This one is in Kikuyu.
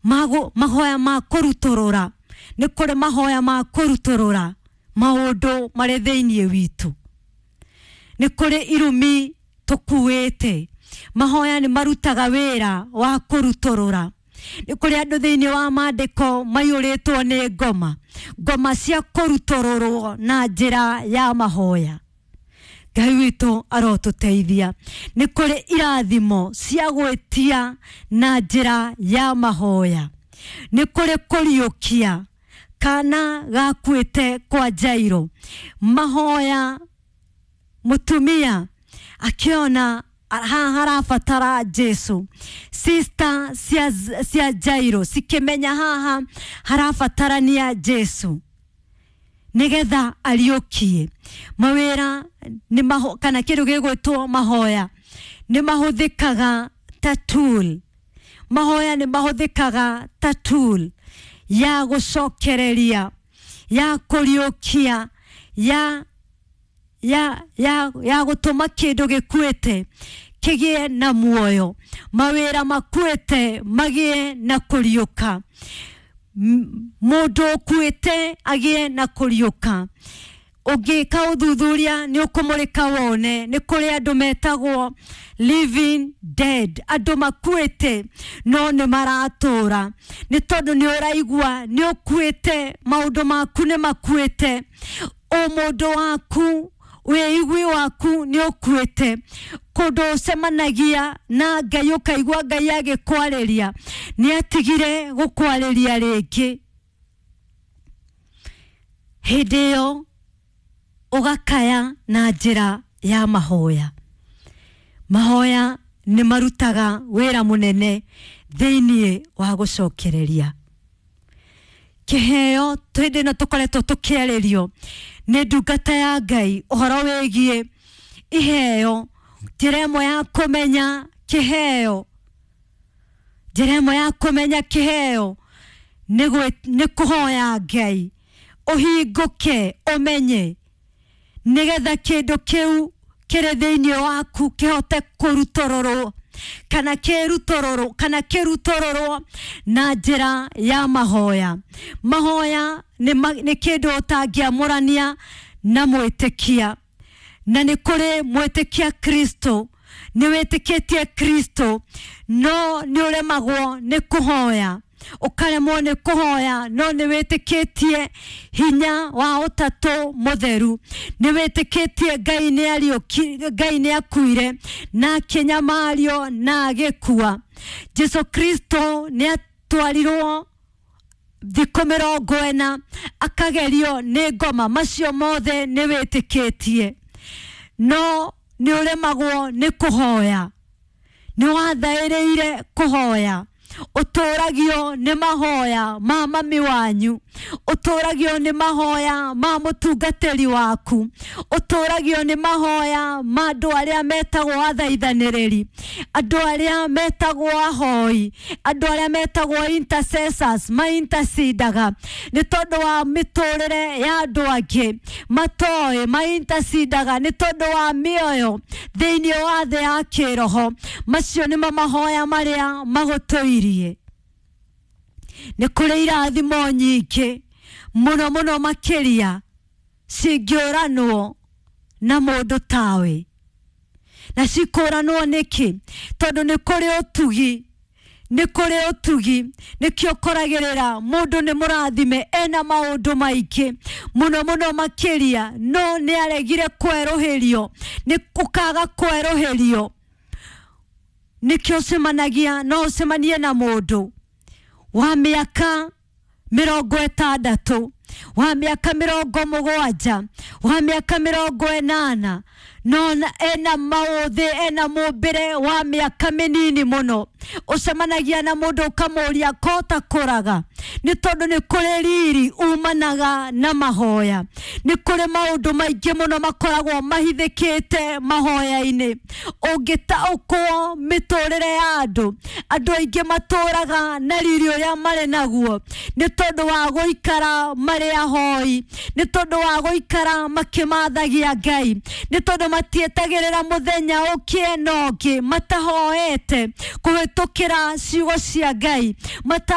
Mahoya ma kũrutũrũra, nĩ kũrĩ mahoya ma kũrutũrũra maũndũ marĩ thĩinĩ witũ, nĩ kũrĩ irumi tũkuĩte. Mahoya nĩ marutaga wĩra wa kũrutũrũra. Nĩ kũrĩ andũ thĩinĩ wa maandĩko maiyũrĩtwo nĩ ngoma, ngoma cia kũrutũrũrwo na njĩra ya mahoya. Ngai witũ arotũteithia. Nĩ kũrĩ irathimo cia gwĩtia na njĩra ya mahoya. Nĩ kũrĩ kũriũkia kana gakuĩte kwa Jairo. Mahoya, mũtumia akĩona haha harabatara Jesu, sister cia Jairo cikĩmenya haha harabatarania Jesu nigetha ariũkie. Mawĩra nĩ maho, kana kĩndũ gĩgwĩtwo mahoya nĩ mahũthĩkaga ta tool. Mahoya nĩ mahũthĩkaga ta tool ya gũcokereria, ya kũriũkia, ya gũtũma kĩndũ gĩkuĩte kĩgĩe na muoyo, mawĩra makuĩte magĩe na kũriũka, mũndũ ũkuĩte agĩe na kũriũka. Ũngĩka ũthuthuria nĩ ũkũmũrĩka wone nĩ kũrĩ andũ metagwo living dead, andũ makuĩte no nĩ maratũra, nĩ tondũ nĩ ũraigua nĩ ũkuĩte, maũndũ maku nĩ makuĩte, ũmũndũ waku, wĩigui waku nĩ ũkuĩte. Kũndũ ũcemanagia na Ngai ũkaigua Ngai agĩkwarĩria, nĩ atigire gũkwarĩria rĩngĩ. Hĩndĩ ĩyo ũgakaya na njĩra ya mahoya. Mahoya nĩ marutaga wĩra mũnene thĩinĩ wa gũcokereria kĩheo. Hĩndĩ ĩno tũkoretwo tũkĩarĩrio nĩ ndungata ya Ngai ũhoro wĩgiĩ iheo. Njĩra ĩmwe ya kũmenya kĩheo, njĩra ĩmwe ya kũmenya kĩheo nĩ kũhoya Ngai ũhingũke ũmenye, nĩgetha kĩndũ kĩu kĩrĩ thĩinĩ waku kĩhote kũrutũrũrwo kana kĩrutũrũrwo kana kĩrutũrũrwo na njĩra ya mahoya. Mahoya nĩ kĩndũ ũtangĩamũrania na mwĩtĩkia, na nĩ kũrĩ mwĩtĩkia Kristo, nĩ wĩtĩkĩtie Kristo no nĩ ũremagwo nĩ kũhoya, ũkaremwo nĩ kũhoya, no nĩ wĩtĩkĩtie hinya wa ũtatũ mũtheru, nĩ wĩtĩkĩtie Ngai nĩ ariũki, Ngai nĩ akuire na akĩnyamario na agĩkua. Jesu Kristo nĩ atwarirwo thikũ 40 akagerio nĩ ngoma, macio mothe nĩ wĩtĩkĩtie, no nĩ ũremagwo nĩ kũhoya, nĩ wathaĩrĩire kũhoya. Ũtũragio nĩ mahoya ma mami wanyu, ũtũragio nĩ mahoya ma mũtungatĩri waku, ũtũragio nĩ mahoya ma andũ arĩa metagwo athaithanĩrĩri, andũ arĩa metagwo ahoi, andũ arĩa metagwo intercessors, ma intercedaga nĩ tondũ wa mĩtũrĩre ya andũ angĩ matoĩ, ma intercedaga nĩ tondũ wa mĩoyo thĩinĩ wa thĩ ya kĩroho. Macio nĩmo mahoya marĩa magũtũirie. Nĩ kũrĩ irathimo nyingĩ mũno mũno makĩria cingĩũranwo na mũndũ tawe, na cikũranwo nĩkĩ? Tondũ nĩ kũrĩ ũtugi, nĩ kũrĩ ũtugi. Nĩkĩo ũkoragĩrĩra mũndũ nĩ mũrathime, ena maũndũ maingĩ mũno mũno makĩria, no nĩ aregire kwerũhĩrio, nĩ ũkaga kwerũhĩrio. Nĩkĩo ũcemanagia, no ũcemanie na mũndũ wa mĩaka 60, wa mĩaka 70, wa mĩaka 80, no ena maũthĩ, ena mũmbĩre wa mĩaka mĩnini mũno. Ũcemanagia na mũndũ ũkamũria kota kũraga, nĩ tondũ nĩ kũrĩ riri umanaga na mahoya. Nĩ kũrĩ maũndũ maingĩ mũno makoragwo mahithĩkĩte mahoya-inĩ. Ũngĩtaũkwo mĩtũrĩre ya andũ, andũ aingĩ matũraga na riri ũrĩa marĩ naguo nĩ tondũ wa gũikara marĩ ahoi, nĩ tondũ wa gũikara makĩmathagia Ngai, nĩ tondũ matietagĩrĩra mũthenya ũkĩe na ũngĩ matahoete kũhĩtũkĩra ciugo cia Ngai mata.